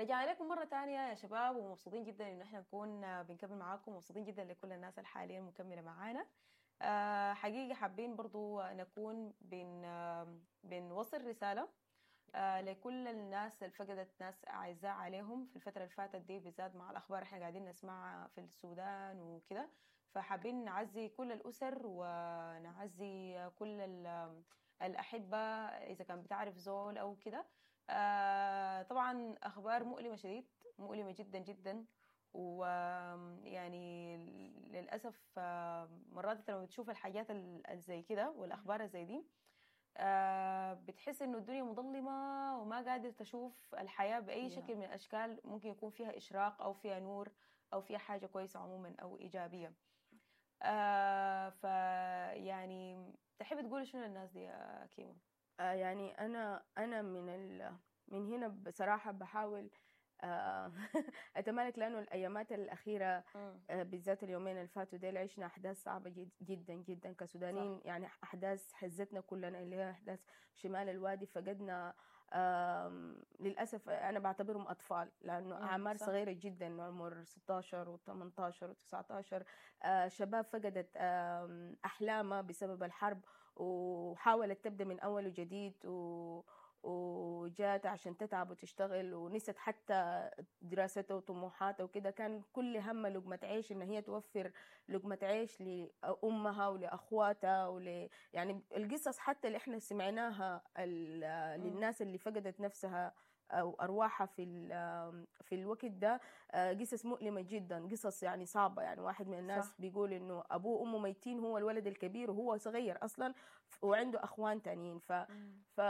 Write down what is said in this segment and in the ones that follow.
رجعنا لكم مرة تانية يا شباب، ومبسوطين جدا انه احنا نكون بنكمل معاكم، مبسوطين جدا لكل الناس اللي حاليا مكملة معانا. حقيقة حابين برضو نكون بنوصل رسالة لكل الناس اللي فقدت ناس أعزاء عليهم في الفترة اللي فاتت دي، بالذات مع الأخبار احنا قاعدين نسمعها في السودان وكده. فحابين نعزي كل الأسر ونعزي كل الأحبة إذا كان بتعرف زول أو كده. طبعا أخبار مؤلمة شديد، مؤلمة جدا جدا، ويعني للأسف مرات انت لما بتشوف الحاجات زي كده والأخبار زي دي بتحس إنه الدنيا مظلمة وما قادر تشوف الحياة بأي شكل من الأشكال ممكن يكون فيها إشراق أو فيها نور أو فيها حاجة كويسة عموما أو إيجابية. فيعني تحب تقولي شنو للناس دي يا كيمو؟ يعني أنا من هنا بصراحة بحاول أتمالك، لأنه الأيامات الأخيرة بالذات اليومين اللي فاتوا ديل عشنا أحداث صعبة جدا جدا كسودانيين. صح. يعني أحداث هزتنا كلنا، اللي هي أحداث شمال الوادي. فقدنا للأسف أنا بعتبرهم أطفال، لأنه أعمار صح. صغيرة جدا، عمر 16 و18 و19، شباب فقدت أحلامها بسبب الحرب وحاولت تبدأ من أول وجديد، وجات عشان تتعب وتشتغل ونست حتى دراستها وطموحاتها وكده. كان كل همها لقمة عيش، إن هي توفر لقمة عيش لأمها ولأخواتها يعني القصص حتى اللي إحنا سمعناها للناس اللي فقدت نفسها أو أرواحها في الوقت ده، قصص مؤلمة جدا، قصص يعني صعبة. يعني واحد من الناس صح. بيقول إنه أبوه وأمه ميتين، هو الولد الكبير وهو صغير أصلا وعنده أخوان تانيين. ف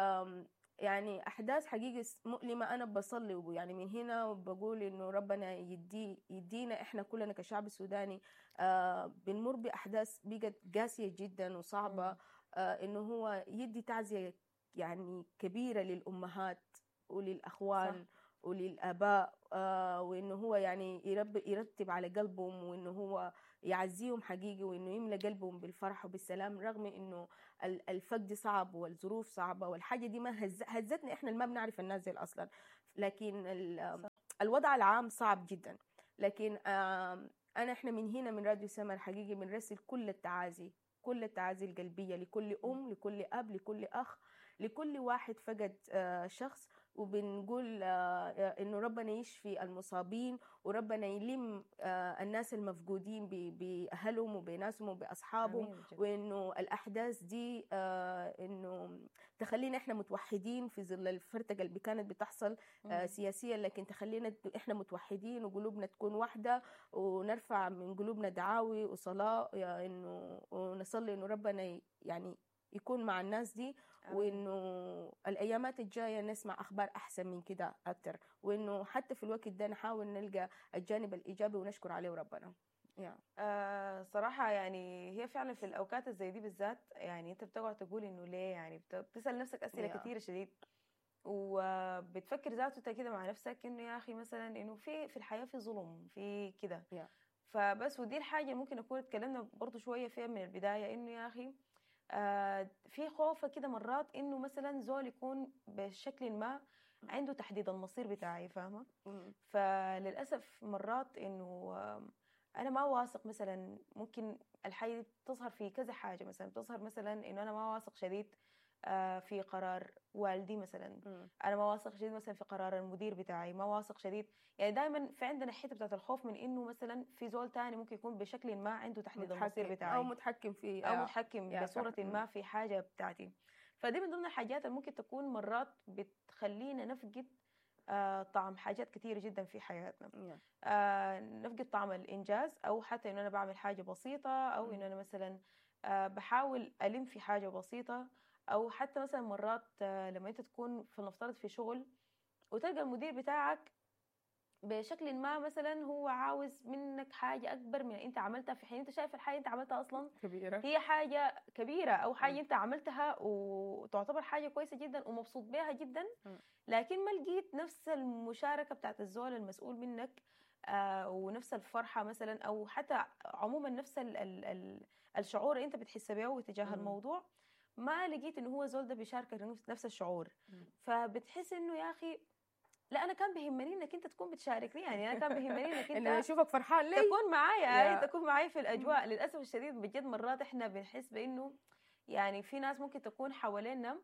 يعني أحداث حقيقة مؤلمة. أنا بصلي يعني من هنا وبقول إنه ربنا يدينا إحنا كلنا كشعب سوداني بنمر بأحداث بقت قاسية جدا وصعبة، إنه هو يدي تعزية يعني كبيرة للأمهات وللأخوان. صح. وللآباء، وإنه هو يعني يرتب على قلبهم، وإنه هو يعزيهم حقيقي، وإنه يملأ قلبهم بالفرح وبالسلام، رغم إنه الفقد صعب والظروف صعبة والحاجة دي ما هزتنا إحنا اللي ما بنعرف الناس دي أصلا، لكن الوضع العام صعب جدا. لكن إحنا من هنا من راديو سمر حقيقي بنرسل كل التعازي، كل التعازي القلبية لكل أم، لكل أب، لكل أخ، لكل واحد فقد شخص، وبنقول إنه ربنا يشفي المصابين، وربنا يلم الناس المفقودين بأهلهم وبناسهم وبأصحابهم، وإنه الأحداث دي إنه تخلينا إحنا متوحدين في ظل الفرتقة اللي كانت بتحصل سياسيا، لكن تخلينا إحنا متوحدين وقلوبنا تكون واحدة، ونرفع من قلوبنا دعاوي وصلاة، إنه ونصلي إنه ربنا يعني يكون مع الناس دي، وإنه الأيامات الجاية نسمع أخبار أحسن من كده أكتر، وإنه حتى في الوقت ده نحاول نلقى الجانب الإيجابي ونشكر عليه ربنا. صراحة يعني هي فعلا في الأوقات زي دي بالذات، يعني أنت بتقعد تقول إنه ليه، يعني بتسأل نفسك أسئلة كثيرة شديد، وبتفكر ذاته كده مع نفسك إنه يا أخي مثلا إنه في الحياة في ظلم في كده. فبس ودي الحاجة ممكن نكون اتكلمنا برضو شوية فيها من البداية، إنه يا أخي في خوفة كده مرات إنه مثلا زول يكون بشكل ما عنده تحديد المصير بتاعي، فاهمة؟ فللأسف مرات إنه أنا ما واثق مثلا، ممكن الحاجة تظهر في كذا حاجة، مثلا تظهر مثلا إنه أنا ما واثق شديد في قرار والدي مثلا، أنا ما واثق شديد مثلا في قرار المدير بتاعي، ما واثق شديد. يعني دائما في عندنا حتة بتاعت الخوف من إنه مثلا في زول تاني ممكن يكون بشكل ما عنده تحديد المصير بتاعي، أو متحكم في أو متحكم بصورة ما في حاجة بتاعتي. فدي من ضمن الحاجات اللي ممكن تكون مرات بتخلينا نفقد طعم حاجات كثيرة جدا في حياتنا. نفقد طعم الإنجاز، أو حتى إنه أنا بعمل حاجة بسيطة، أو إنه أنا مثلا بحاول ألم في حاجة بسيطة، أو حتى مثلا مرات لما أنت تكون فلنفترض في شغل وتلقى المدير بتاعك بشكل ما مثلا هو عاوز منك حاجة أكبر من أنت عملتها، في حين أنت شايف الحاجة أنت عملتها أصلا كبيرة، هي حاجة كبيرة أو حاجة أنت عملتها وتعتبر حاجة كويسة جدا ومبسوط بها جدا، لكن ما لقيت نفس المشاركة بتاعت الزول المسؤول منك ونفس الفرحة مثلا، أو حتى عموما نفس ال ال ال الشعور اللي أنت بتحس به تجاه الموضوع، ما لقيت إنه هو زول ده بيشاركك نفس الشعور. فبتحس إنه يا أخي لا انا كان بيهمني انك انت تكون بتشاركني، يعني انا كان بيهمني انك انه انت اشوفك فرحان لي، تكون معايا، yeah. تكون معايا في الاجواء. للاسف الشديد بجد مرات احنا بنحس بانه يعني في ناس ممكن تكون حوالينا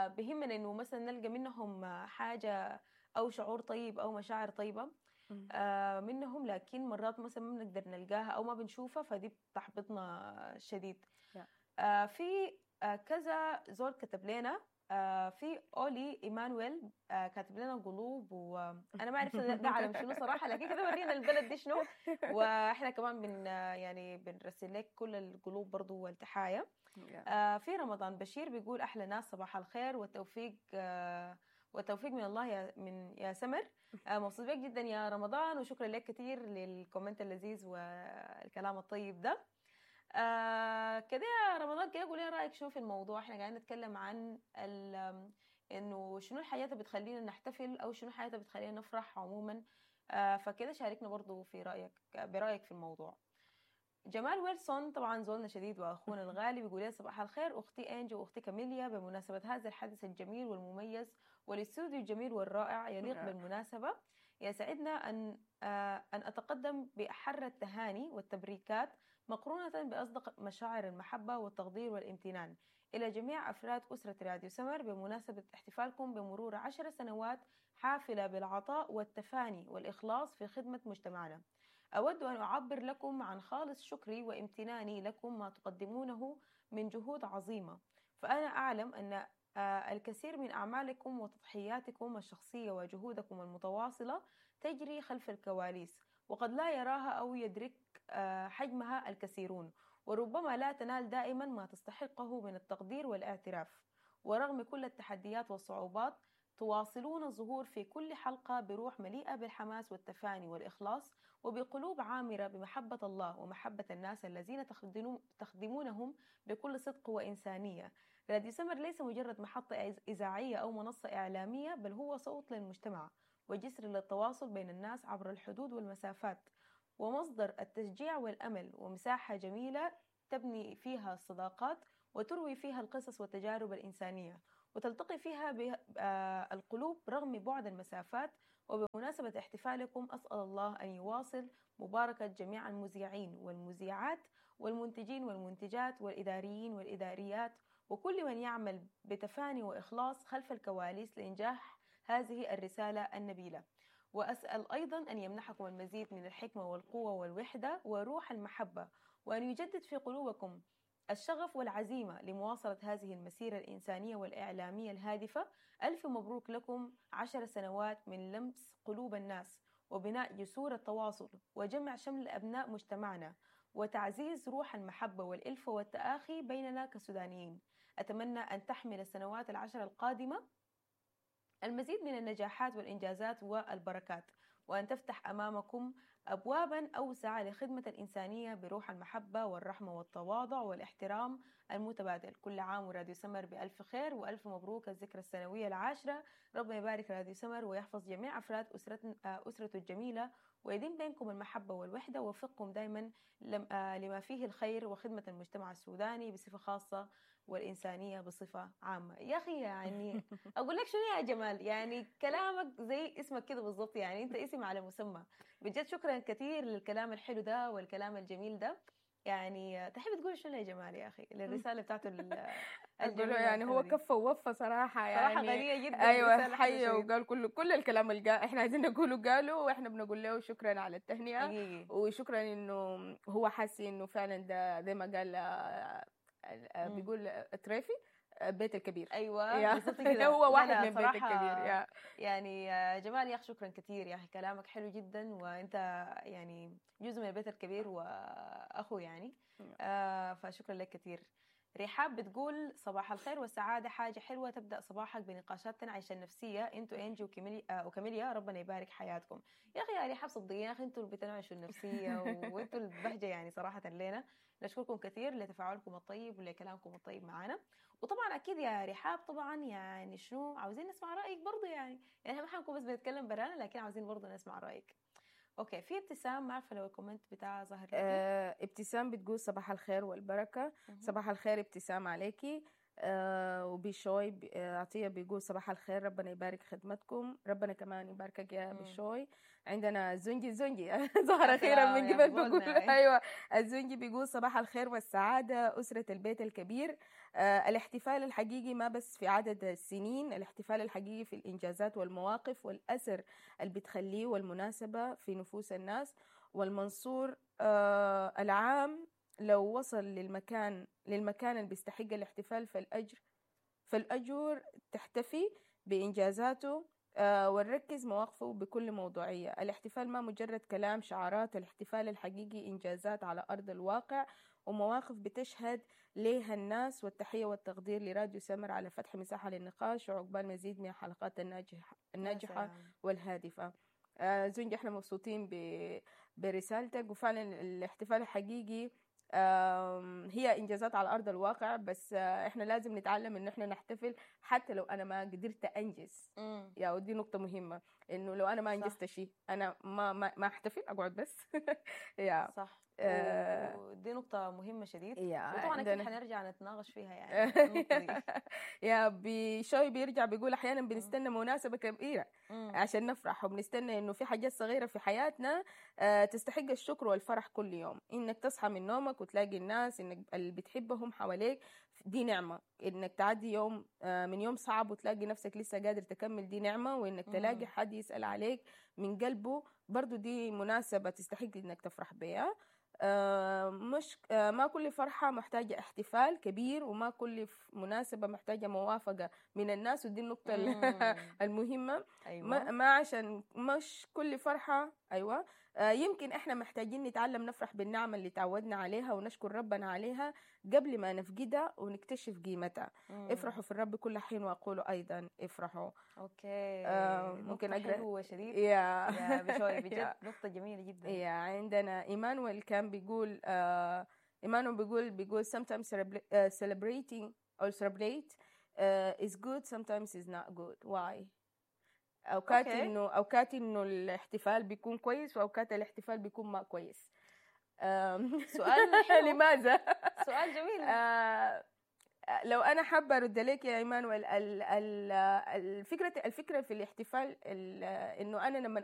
بهمنا انه مثلا نلقى منهم حاجة او شعور طيب او مشاعر طيبة منهم، لكن مرات مثلا ما بنقدر نلقاها او ما بنشوفها، فدي بتحبطنا شديد. في كذا زول كتب لنا، في اولي ايمانويل كاتب لنا قلوب، وانا ما عرفت ده علم شنو صراحة، لكن كده ورينا البلد دي شنو، واحنا كمان بن يعني بنرسل لك كل القلوب برضو والتحايا. في رمضان بشير بيقول احلى ناس، صباح الخير والتوفيق، والتوفيق من الله يا سمر. مبسوط بك جدا يا رمضان، وشكرا لك كثير لل comment اللذيذ والكلام الطيب ده. كده يا رمضان، كده قولي رايك شنو في الموضوع. احنا قاعدين نتكلم عن انه شنو الحاجات اللي بتخلينا نحتفل، او شنو الحاجات اللي بتخلينا نفرح عموما. فكده شاركنا برضو في برايك في الموضوع. جمال ويلسون طبعا زولنا شديد واخونا الغالي بيقول لي صباح الخير اختي انجي واختي كاميليا، بمناسبة هذا الحدث الجميل والمميز والاستوديو الجميل والرائع يليق بالمناسبة، يسعدنا ان اتقدم باحر التهاني والتبريكات مقرونة بأصدق مشاعر المحبة والتقدير والامتنان إلى جميع أفراد أسرة راديو سمر بمناسبة احتفالكم بمرور 10 سنوات حافلة بالعطاء والتفاني والإخلاص في خدمة مجتمعنا. أود أن أعبر لكم عن خالص شكري وامتناني لكم ما تقدمونه من جهود عظيمة، فأنا أعلم أن الكثير من أعمالكم وتضحياتكم الشخصية وجهودكم المتواصلة تجري خلف الكواليس، وقد لا يراها أو يدرك حجمها الكثيرون، وربما لا تنال دائما ما تستحقه من التقدير والاعتراف. ورغم كل التحديات والصعوبات تواصلون الظهور في كل حلقة بروح مليئة بالحماس والتفاني والإخلاص، وبقلوب عامرة بمحبة الله ومحبة الناس الذين تخدمونهم بكل صدق وإنسانية. راديو سمر ليس مجرد محطة إذاعية أو منصة إعلامية، بل هو صوت للمجتمع وجسر للتواصل بين الناس عبر الحدود والمسافات، ومصدر التشجيع والأمل، ومساحة جميلة تبني فيها الصداقات وتروي فيها القصص والتجارب الإنسانية، وتلتقي فيها القلوب رغم بعد المسافات. وبمناسبة احتفالكم أسأل الله أن يواصل مباركة جميع المذيعين والمذيعات والمنتجين والمنتجات والإداريين والإداريات وكل من يعمل بتفاني وإخلاص خلف الكواليس لإنجاح هذه الرسالة النبيلة. وأسأل أيضا أن يمنحكم المزيد من الحكمة والقوة والوحدة وروح المحبة، وأن يجدد في قلوبكم الشغف والعزيمة لمواصلة هذه المسيرة الإنسانية والإعلامية الهادفة. ألف مبروك لكم 10 سنوات من لمس قلوب الناس وبناء جسور التواصل وجمع شمل أبناء مجتمعنا وتعزيز روح المحبة والإلفة والتآخي بيننا كسودانيين. أتمنى أن تحمل السنوات 10 القادمة المزيد من النجاحات والإنجازات والبركات، وأن تفتح أمامكم أبوابا أوسع لخدمة الإنسانية بروح المحبة والرحمة والتواضع والاحترام المتبادل. كل عام وراديو سمر بألف خير، وألف مبروك الذكرى السنوية 10. ربنا يبارك راديو سمر ويحفظ جميع أفراد أسرته الجميلة، ويديم بينكم المحبة والوحدة، ويوفقكم دائما لما فيه الخير وخدمة المجتمع السوداني بصفة خاصة والإنسانية بصفة عامة. يا أخي يعني أقول لك شنو يا جمال، يعني كلامك زي اسمك كده بالضبط، يعني أنت اسم على مسمى بجد. شكرا كثير للكلام الحلو ده والكلام الجميل ده. يعني تحب تقول شنو يا جمال يا أخي للرسالة بتاعته الجميلة؟ يعني هو كفى ووفى صراحة، يعني صراحة غنية جدا. أيوة حقيقة، وقال كل الكلام اللي إحنا عايزين نقوله قاله، وإحنا بنقول له شكرا على التهنئة حقيقي. وشكرا إنه هو حاسس إنه فعلا ده زي ما قال بيقول تريفي بيت الكبير. ايوه بالضبط كده، هو واحد من بيت الكبير. يا يعني جمال يا اخي شكرا كثير يا اخي، كلامك حلو جدا، وانت يعني جزء من البيت الكبير واخو يعني. فشكرا لك كثير. رحاب بتقول صباح الخير والسعادة، حاجة حلوة تبدأ صباحك بنقاشات تنعش النفسية، انتوا انجي وكاميليا ربنا يبارك حياتكم. يا أخي يا رحاب صدقيني يا أخي انتوا اللي بتنعشوا النفسية وانتوا البهجة يعني صراحة لنا. نشكركم كثير لتفاعلكم الطيب ولكلامكم الطيب معنا. وطبعا أكيد يا رحاب طبعا يعني شنو عاوزين نسمع رأيك برضو، يعني ما حنكون بس بنتكلم برانا، لكن عاوزين برضو نسمع رأيك. okay، في ابتسام، ما عارفه لو ال comment بتاع ظهر. ابتسام بتقول صباح الخير والبركة. صباح الخير ابتسام عليكي. وبشوي عطية بيقول صباح الخير، ربنا يبارك خدمتكم. ربنا كمان يباركك يا بشوي. عندنا زنجي، زنجي ظهر أخيرا من يا قبل، بيقول قولنا. أيوة، الزنجي بيقول صباح الخير والسعادة أسرة البيت الكبير. الاحتفال الحقيقي ما بس في عدد السنين، الاحتفال الحقيقي في الإنجازات والمواقف والأثر اللي بتخليه والمناسبة في نفوس الناس. والمنصور العام لو وصل للمكان اللي بيستحق الاحتفال فالأجر تحتفي بإنجازاته ونركز مواقفه بكل موضوعية. الاحتفال ما مجرد كلام شعارات، الاحتفال الحقيقي إنجازات على أرض الواقع ومواقف بتشهد ليها الناس. والتحية والتقدير لراديو سمر على فتح مساحة للنقاش، وعقبال مزيد من الحلقات الناجحة سلام. والهادفة. زنجي، احنا مبسوطين برسالتك، وفعلا الاحتفال الحقيقي هي انجازات على ارض الواقع، بس احنا لازم نتعلم ان احنا نحتفل حتى لو انا ما قدرت انجز. يا ودي نقطة مهمة، انه لو انا ما انجزت شيء انا ما احتفل، اقعد بس يا صح. ودي نقطة مهمة شديد. يا وطبعا اكيد عندنا حنرجع نتناقش فيها يعني النقطة دي. يا بشوي بيرجع بيقول احيانا بنستنى مناسبة كبيرة عشان نفرح، وبنستنى انه في حاجات صغيرة في حياتنا تستحق الشكر والفرح كل يوم. انك تصحى من نومك وتلاقي الناس انك اللي بتحبهم حواليك، دي نعمة. انك تعدي يوم من يوم صعب وتلاقي نفسك لسه قادر تكمل، دي نعمة. وانك تلاقي حد يسأل عليك من قلبه، برضو دي مناسبة تستحق انك تفرح بيها. مش ما كل فرحة محتاجة احتفال كبير، وما كل مناسبة محتاجة موافقة من الناس، ودي النقطة المهمة. ما عشان مش كل فرحة، أيوة، يمكن إحنا محتاجين نتعلم نفرح بالنعمة اللي تعودنا عليها ونشكر ربنا عليها قبل ما نفقدها ونكتشف قيمتها. افرحوا في الرب كل حين، وأقولوا أيضا افرحوا. okay. ممكن نقطة أقرأ؟ حلوة شديد يا يا بشوي، بجد نقطة جميلة جدا. يا عندنا ايمانويل كان بيقول، ايمانويل بيقول sometimes celebrating or celebrate is good، sometimes is not good، why؟ اوقات انه الاحتفال بيكون كويس، واوقات الاحتفال بيكون ما كويس. سؤال حلو. لماذا؟ سؤال جميل. لو انا حابة ارد لك يا ايمانويل، الفكرة في الاحتفال انه انا لما